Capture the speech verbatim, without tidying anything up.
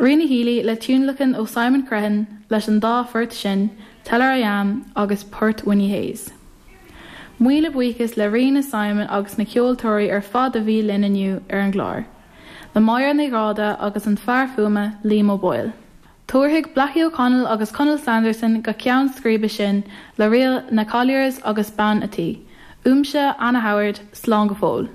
Ríona Healy le tionlacan ó Simon Crehan leis an dá phort sin, Tell Her I Am agus Port Winnie Hayes. Míle buíochas le Ríona Simon agus na ceoltóirí ar fad a bhí linn inniu ar an gclár. Le Máire Ní Ghráda agus an fear fuaime Liam O'Boyle. Tabharfaidh Blackie O'Connell agus Conal Sanderson go ceann scríbe sinn le ríl na Colliers agus bean a' tí. Uaimse Anna Howard slán go fóill.